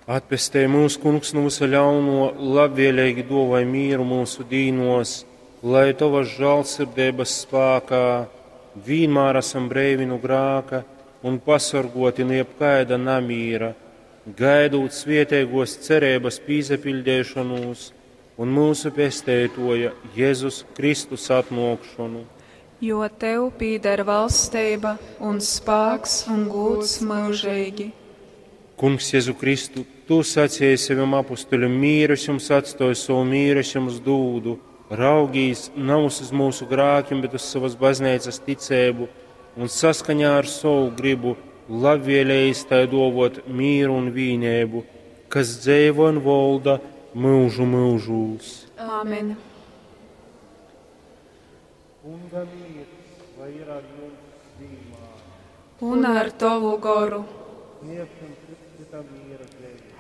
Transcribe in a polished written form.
Atpestej mūs, Kungs, nu vysa ļauno, labvēlīgi duovoj mīru mūsu dīnos, lai Tovas žālsirdeibas spākā vīnmār esam breivi nu grāka un pasorgoti nu jebkaida namīra, gaidūt svietēgos cerības pīsapiļdēšanūs un mūsu pesteitoja Jēzus Kristus atnōkšonu. Jo tev pīder valsteiba un spāks un gūds mūžīgi. Kungs, Jēzu Kristu, Tu sacīji saviem apustuļiem, mīru es jums atstoju, savu mīru es jums dūdu. Raugīs nav uz mūsu grākiem, bet uz savas baznīcas ticību un saskaņā ar savu gribu labvēlējis tai dovot mīru un vīnēbu, kas dzēvo un volda mūžu mūžūs. Āmen. Kunga mīrs, lai ir ar jums vienmēr. Un ar tavu goru. Sniegsim citam miera dzēvi.